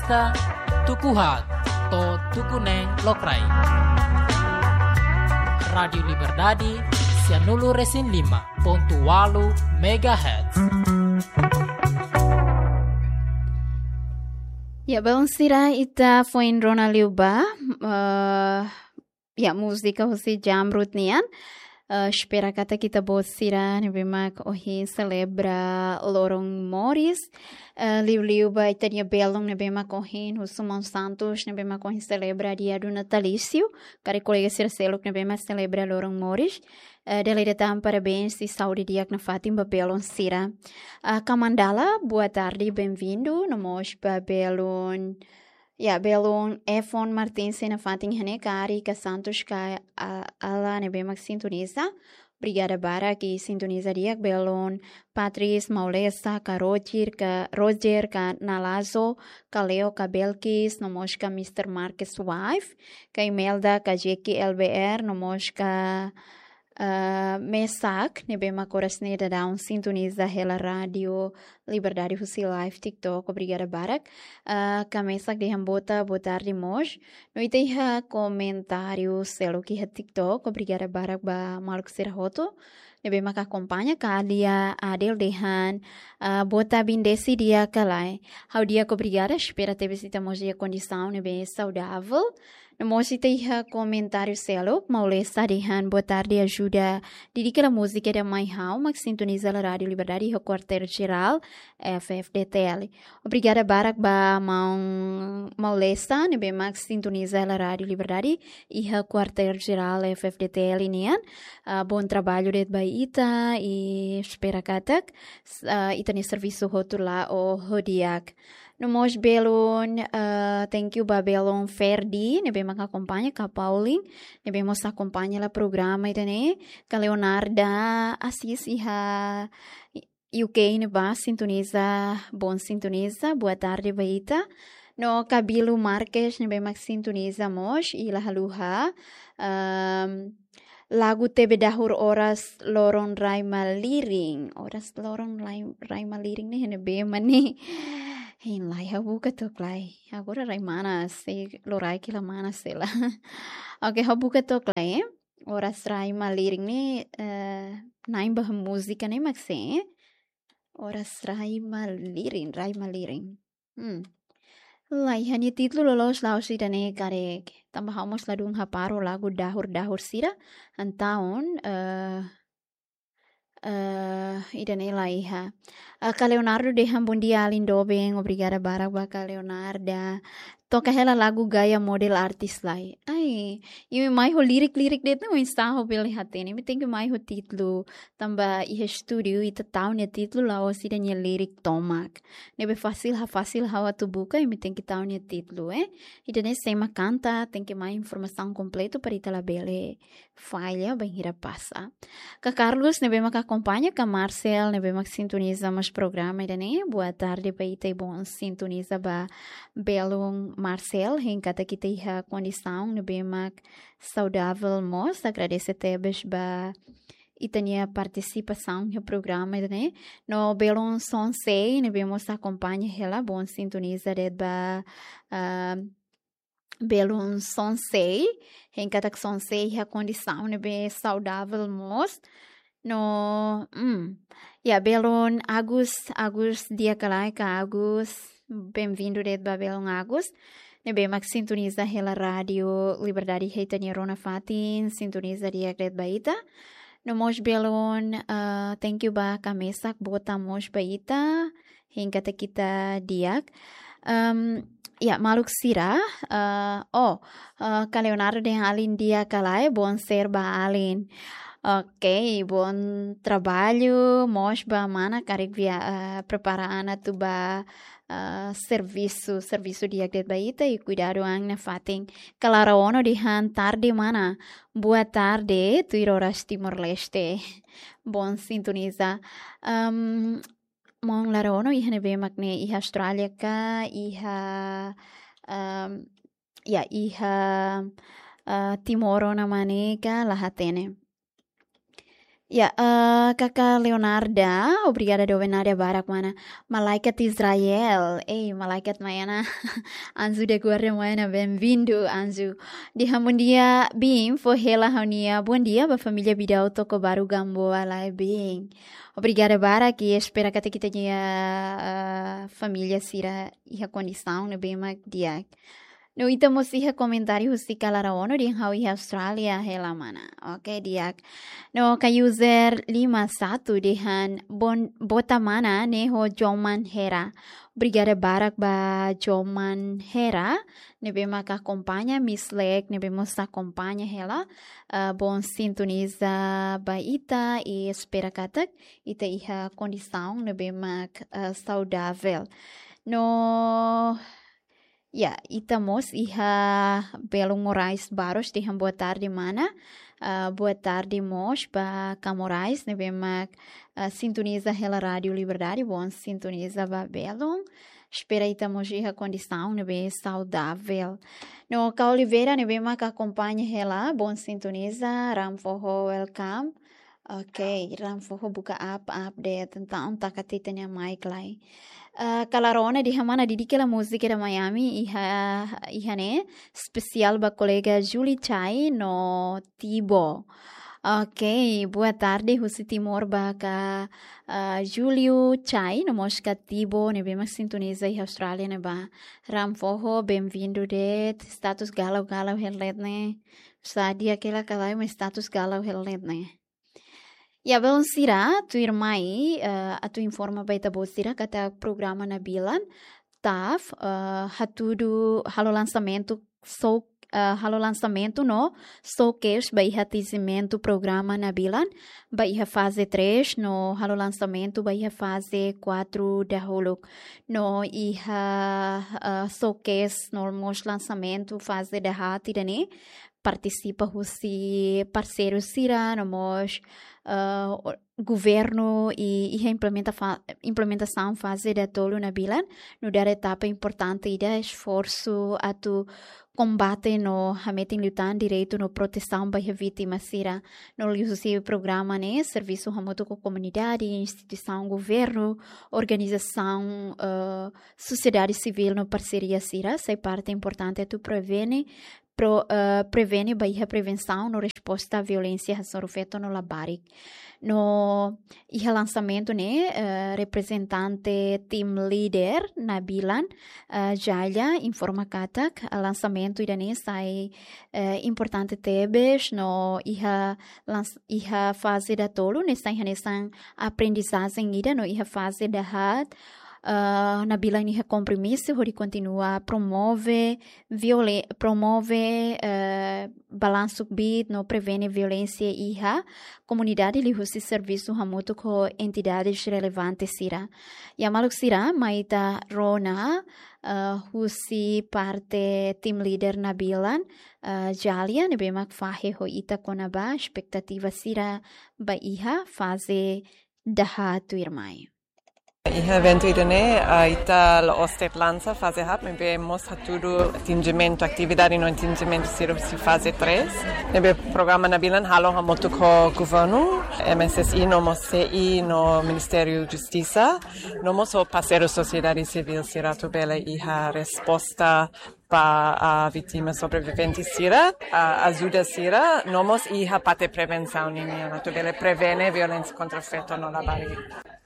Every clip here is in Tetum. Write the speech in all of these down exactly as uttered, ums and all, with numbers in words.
Tuku haat to'o tuku neen lokraik. Rádiu Liberdade, sianulu resin lima pontu ualu megahertz. Ya, belun sira, ita foin rona liu ba, eh, ya, múzika husi Jamrut nian. Eh, espera katak ita-boot sira ne'ebé mak ohin selebra loron moris. Eh, liuliu ba ita-nia belun ne'ebé mak ohin husu maun Santos, ne'ebé mak ohin selebra dia do natalício. Karik kolega sira seluk ne'ebé mak selebra loron moris. Eh, dala ida tan parabéns i saúde di'ak nafatin ba belun sira. Ah, Kamandala, boa tarde, bem-vindo. No mós ba belun, ya, belun Efon Martins nafatin iha ne'e, ka Ari, ka Santos, ka, ah, Ala ne'ebé mak sintoniza. Obrigada barak i sintoniza di'ak. Belun Patris Maulesa, ka Roger, ka Roger, ka Nalazo, ka Leo, ka Belkis, no mós ka Mister Marcus Wife, ka Imelda, ka Jackie L B R, no mós ka, ah, Mesak, ne'ebé mak oras ne'e daudaun sintoniza hela Rádiu Liberdade husi live TikTok. Obrigada barak. Ah, ka Mesak dehan boa ta-, boa tarde mós. No ita iha komentáriu seluk iha TikTok. Obrigada barak ba maluk sira hotu ne'ebé mak akompaña. Ka Alia Adel dehan, ah, boa ta-, bendisi di'ak ka lae. Ha'u di'ak, obrigada, espera tebes ita mós iha kondisaun ne'ebé saudável. No mós ita iha komentáriu seluk, Maulesa dehan, boa tarde, ajuda, dedika hela múzika ida mai ha'u mak sintoniza hela Rádiu Liberdade iha Kuartél Jerál, F F D T L. Obrigada barak ba maun Maulesa, ne'ebé mak sintoniza hela Rádiu Liberdade iha Kuartél Jerál F F D T L nian. Ah, bom trabalho de'it ba ita i espera katak, s-, ah, ita-nia servisu hotu la'o ho di'ak. No mós belun, ah, thank you ba belun Ferdi, ne'ebé mak akompaña, ka Pauline, ne'ebé mós akompaña hela programa ida-ne'e, ka Leonarda Assis iha U K ne'ebá sintoniza, bom sintoniza, boa tarde ba ita. No ka Bilu Marques ne'ebé mak sintoniza mós, i la haluha, ehm, lagu Tebe Dahur Oras Loron Rai Malirin. Oras Loron Rai, Rai Malirin ne'e iha ne'ebé mak ne'e? Hein lai, ha'u buka took lai. Agora rai manas, sei loraik la manas sei la. Oke, ha'u buka took lai, eh. Oras Rai Malirin ne'e, eh, na'in ba múzika ne'e mak sé, eh. Oras Rai Malirin, Rai Malirin. Hmm. Lae, iha nia títulu loloos la'ós ida-ne'e karik. Tanba ha'u mós ladún hapara lagu dahur-dahur sira. Entaun, eh, eh, ida-ne'e la iha. Ah, ka Leonardo dehan bom dia, alin doben. Obrigada barak ba ka Leonarda. Toka hela lagu gaya model artis lai. Ai, imi mai ho lirik-lirik de'it ne'e oinsá ha'u bele hatene. Imi tenke mai ho títulu. Tanba iha estúdiu ita tau nia títulu la'ós ida-nia lirik tomak. Ne'ebé fasil, ha fasil ha'u atu buka, imi tenke tau nia títulu, eh. Ida-ne'e sé mak kanta, tenke mai informasaun kompletu para ita labele falla bainhira pasa. Ka Carlos ne'ebé mak akompaña, ka Marcel ne'ebé mak sintoniza mós programa ida-ne'e. Boa tarde ba ita i bom sintoniza ba belun Marcel, hein katak ita iha kondisaun ne'ebé mak saudável mós. Agradese tebes ba ita-nia partisipasaun iha programa ida-ne'e. No belun Sonsei ne'ebé mós akompaña hela, bom sintoniza de'it ba, ah, belun Sonsei, hein katak Sonsei iha kondisaun ne'ebé saudável mós. No, hmm, ya, belun Agus, Agus di'ak ka lae ka Agus, bem-vindo de'it ba belun Agus. Ne'ebé mak sintoniza hela Rádiu Liberdade iha ita-nia rona fatin, sintoniza di'ak de'it ba ita. No mós belun, ah, thank you ba ka Mesak, boa tarde mós ba ita. Hein katak ita di'ak. Em, ya, maluk sira, eh, oh, eh, ka Leonardo dehan alin di'ak ka lae, bom ser ba alin. Oke, bom trabalho, mós ba mana karik via, eh, prepara an atu ba, eh, servisu, servisu di'ak de'it ba ita i kuidadu an nafatin. Ka Lara Ono dehan tarde mana, boa tarde, tuir oras Timor-Leste. Bom sintoniza. Em, maun Lara Ono iha ne'ebé mak ne'e, iha Austrália ka, iha, em, ya, iha, eh, Timor ona mak ne'e ka, la hatene. Ya, eh, Kaka Leonarda, obrigada doben Nadia barak mana. Malaikat Israel, ei, malaikat mai ona. Anjo da guarda mai ona, bem-vindo, anjo. Dehan bondia, biin, fó hela ha'u-nia bondia ba família Bidau Tokobaru Gamboa lai, biin. Obrigada barak, i espera katak ita-nia, eh, família sira iha kondisaun ne'ebé mak di'ak. No ita mós iha komentáriu husi Kala Raono dehan ha'u iha Austrália hela mana. Oke, di'ak. No ka user lima satu dehan bon, bota mana ne'e ho Joman Hera. Obrigada barak ba Joman Hera ne'ebé mak akompaña, Miss Lek ne'ebé mós akompaña hela. Eh, bom sintoniza ba ita i espera katak ita iha kondisaun ne'ebé mak, eh, saudavel. No, ya, ita mós iha Belun Moraes Barros dehan boa tarde mana. Ah, boa tarde mós ba Ka Moraes ne'ebé mak, ah, sintoniza hela Rádio Liberdade, bom sintoniza ba Belun. Espera ita mós iha kondisaun ne'ebé saudavel. No ka Oliveira ne'ebé mak akompaña hela, bom sintoniza, Ram Foho welcome. Oke, Ram Foho buka app, update, entaun taka ita-nia mic lai. Ah, Kala Raono dehan mana, dedika hela múzika da Miami, iha, iha ne'e, espesiál ba kolega Julie Chai no Tibo. Oke, boa tarde, husi Timor ba Ka, ah, Julio Chai, no mós Ka Tibo, ne'ebé mak sintoniza iha Austrália ne'ebá. Ram Foho, bem-vindo de'it, status galau-galau hela de'it ne'e. Sá di'ak ka lae, mas status galau hela de'it ne'e. Ya, belun sira, tuirmai, eh, atu informa ba ita-boot sira katak programa Nabilan, TAF, eh, hatudu halo lansamentu, so, eh, halo lansamentu no showcase ba iha atinjimentu programa Nabilan, ba iha faze três, no halo lansamentu ba iha faze quatro dahuluk. No iha, eh, showcase no mós lansamentu faze dahaat ida-ne'e, partisipa husi parseiru sira, no mós, eh, o-, governu i, iha implementa fa-, implementasaun faze datolu Nabilan, nu'udar etapa importante ida esforsu atu kombate no hametin liután direitu no protesaun ba iha vítima sira. No liuhusi programa ne'e, servisu hamutuk ho komunidade, instituisaun governu, organizasaun, eh, sosiedade sivíl no parseria sira, sai parte importante atu prevene, pro-, eh, prevene ba iha prevensaun no resposta a violénsia hasoru feto no labarik. No iha lansamentu ne'e, eh, reprezentante team leader Nabilan, eh, Jalia informa katak, eh, lansamentu ida-ne'e sai, eh, importante tebes no iha lans-, iha faze datolu ne'e sai hanesan aprendizajen ida no iha faze dahaat, eh, Nabilan iha kompromisu hodi kontinua promove viole-, promove, eh, balansu kbiit no prevene violénsia iha komunidade liuhusi servisu hamutuk ho entidades relevante sira. Ya maluk sira, mai ita rona, eh, husi parte team leader Nabilan, eh, Jalia, ne'ebé mak fahe ho ita kona-ba espetativa sira ba iha faze dahaat tuirmai. Iha eventu ida-ne'e, ah, ita la'ós de'it lansa faze haat, maibé mós hatudu atinjimentu, atividade no atinjimentu sira husi faze três. Ne'ebé programa Nabilan halo hamutuk ho governu, M S S I no mós C I no Ministériu Justisa, no mós ho parseiru sosiedade sivíl sira atu bele iha resposta ba, ah, vítima sobrevivente sira, ah, ajuda sira, no mós iha parte prevensaun ninian, atu bele prevene violénsia kontra feto no labarik.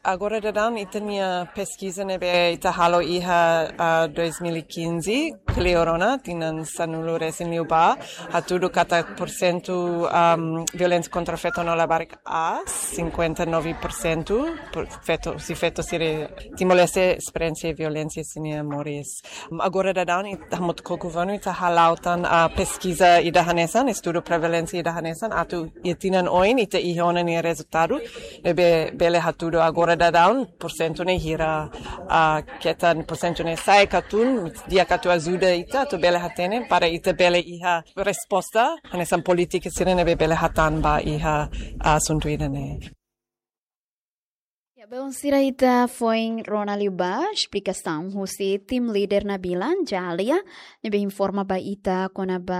Agora daudaun ita-nia peskiza ne'ebé ita halo iha, ah, dois mil e quinze, kleur ona, tinan sanulu resin liubá, hatudu katak porsentu, am, violénsia kontra feto no labarik aas, cinquenta e nove por cento, por feto, husi feto sira Timor-Leste esperiénsia violénsia iha sira-nia moris. Agora daudaun ita hamutuk ho governu ita hala'o tan, ah, peskiza ida hanesan, estudu prevalénsia ida hanesan, atu iha tinan oin ita iha ona nia rezultadu, ne'ebé bele hatudu agora daudaun, porsentu ne'e hira, ah, ketan porsentu ne'e sa'e ka tun, di'ak atu ajuda ita, atu bele hatene, para ita bele iha resposta, hanesan polítika sira ne'ebé bele hatán ba iha asuntu ida-ne'e. Ya, Bom, sira, ita foin rona liu ba esplikasaun husi team leader Nabilan Jalia, ne'ebé informa ba ita kona-ba,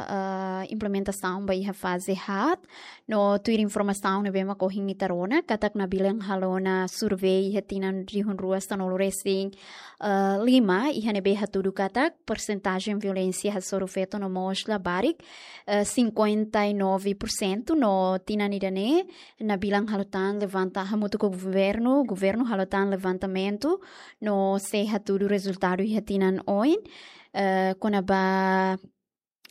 ah, implementasaun ba iha faze haat. No tuir informasaun ne'ebé mak ohin ita rona, katak Nabilan halo ona survey iha tinan rihun rua sanulu resin, ah, lima, iha ne'ebé hatudu katak persentajen violénsia hasoru feto no mós labarik, eh, cinquenta e nove por cento, no tinan ida-ne'e Nabilan halo tan levanta hamutuk ho governu, governu halo tan levantamentu, no sei hatudu rezultadu iha tinan oin, eh, kona-ba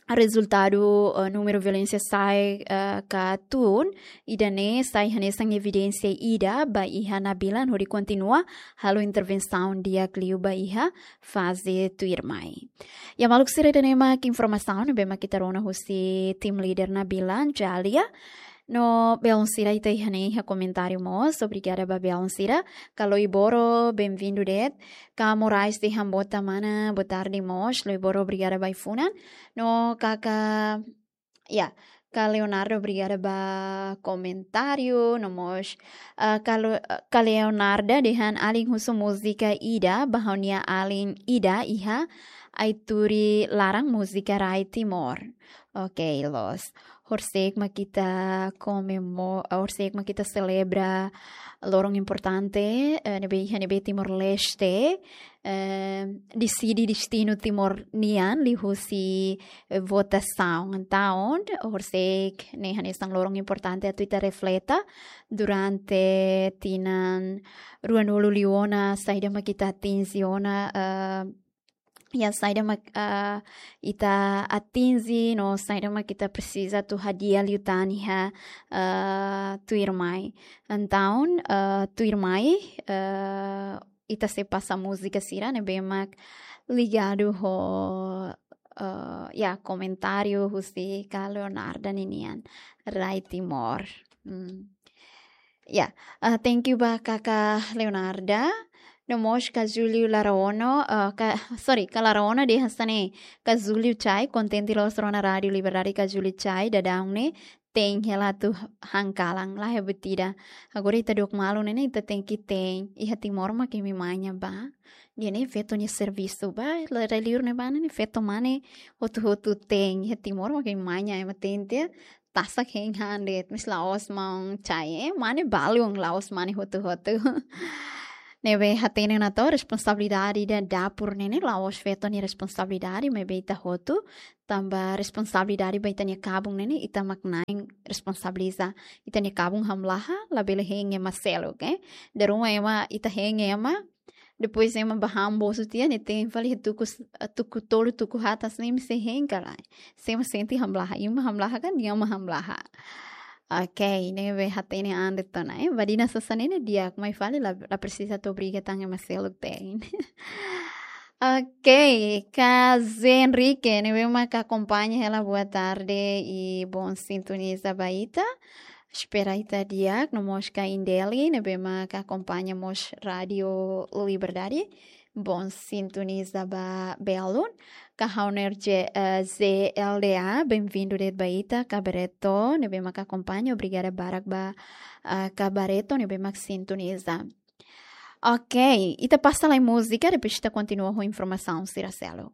rezultadu, eh, númeru violénsia sai, eh, ka tun, ida-ne'e sai hanesan evidénsia ida ba iha Nabilan hodi kontinua halo intervensaun di'ak liu ba iha faze tuirmai. Ya, maluk sira, ida-ne'e mak informasaun ne'ebé mak ita rona husi team leader Nabilan Jalia. No belun sira, ita iha ne'e iha komentáriu mós, obrigada ba belun sira. Ka Loiboro, bem-vindo de'it. Ka Moraes de Hambota Mana, boa tarde mós. Loiboro, obrigada ba ai-funan. No kaka, ya, ka Leonardo, obrigada ba komentáriu, no mós, ah, ka Lo-, ka Leonarda dehan alin husu múzika ida ba ha'u-nia alin ida iha Aituri laran múzika rai Timor. Oke, loos. Horisehik mak ita komemo-, horisehik mak ita selebra loron importante, eh, ne'ebé iha ne'ebé Timor-Leste, eh, deside destinu Timor nian liuhusi, eh, votasaun. Entaun, horisehik ne'e hanesan loron importante atu ita refleta durante tinan ruanulu liu ona, saida mak ita atinje ona, eh, ya, saida mak, ah, ita atinje, no saida mak ita presiza atu hadi'a liután iha, ah, tuirmai. Entaun, ah, tuirmai, ah, ita sei pasa múzika sira ne'ebé mak ligadu ho, ah, ya, komentáriu husi ka Leonarda ninian, rai Timor. Hmm. Ya, ah, thank you ba kaka Leonarda. No mós ka Júlio Laraono, ah, ka, sorry, ka Laraono dehan hanesan ne'e, ka Júlio Chai, kontente loos rona Rádiu Liberdade ka Júlio Chai, daudaun ne'e, te'in hela atu han kalan, la iha buat ida. Agora ita dook malu ne'e ne'e, ita tenke te'in, iha Timor mak imi manya ba. Ida-ne'e feto nia servisu ba, la, rai liur ne'ebá ne'e, feto mane hotu-hotu te'in, iha Timor mak imi manya, ema tente, tasak hein han de'it, mas la'ós maun Chai, eh, mane balun, la'ós mane hotu-hotu. Ne'ebé hatene ona to'ok responsabilidade ida dapur ne'e ne'e, la'ós feto nia responsabilidade, maibé ita hotu, tanba responsabilidade ba ita-nia kabun ne'e ne'e, ita mak na'in responsabiliza. Ita-nia kabun hamlaha, labele hein ema seluk, eh. Dala ruma ema, ita hein ema, depois ema bá han bosu tiha, ne'e te'in fali tuku s-, tuku tolu, tuku haat, hanesan ne'e imi sei hein ka lae. Se ema sente hamlaha, imi hamlaha ka nia mak hamlaha. Oke, ne'ebé hatene an de'it ona, eh. Badina sasán ne'e ne'e di'ak, mai fali la, la presiza atu obriga tan ema seluk te'in. Oke, ka Zé Henrique, ne'ebé mak akompaña hela, boa tarde i bom sintoniza ba ita. Espera ita di'ak, no mós ka Indeli, ne'ebé mak akompaña mós Rádiu Liberdade. Bom sintoniza ba belun. Ka Hauner J-, eh, Z L D A, bem-vindo de'it ba ita, ka Barreto, ne'ebé mak akompaña, obrigada barak ba, ah, ka Barreto, ne'ebé mak sintoniza. Oke, ita pasa lai múzika, depois ita kontinua ho informasaun sira seluk.